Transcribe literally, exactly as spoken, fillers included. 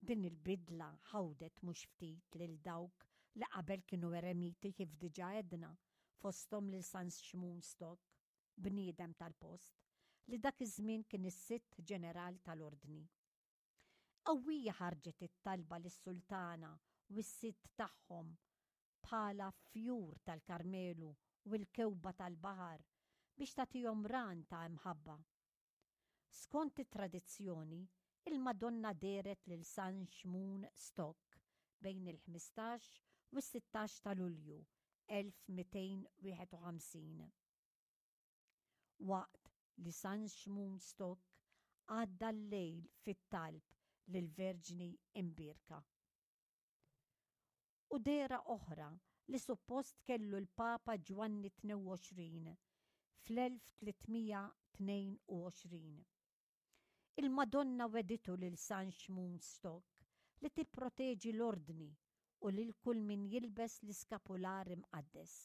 Din il-bidla ħawdet mhux ftit lil dawk li qabel kienu eremiti, kif diġà għedna, fosthom lil San Xmun Stock, bniedem tal-post, li dak iż-żmien kien is-sitt ġeneral tal-ordni. Qawwija ħarġet it-talba lis-sultana u s-sitt tagħhom bħala fjur tal-Karmelu u l-kewba tal-baħar biex tagħtihom ran ta' imħabba. Skont it-tradizzjoni, il-Madonna dehret lil San Xmun Stock bejn il-ħmistax u s-sittax ta' Lulju elf mitejn wieħed u ħamsin, waqt li San Xmun Stock għadda l-lejl fit-talb lill-Verġni Imbierka. U dehra oħra li suppost kellu l-Papa Ġwanni tnejn u għoxrin fl-elf tliet mija tnejn u għoxrin. Il-Madonna wegħditu lil San Xmun Stock li tipproteġi l-ordni u lil kull min jilbes l-iskapular imqaddes.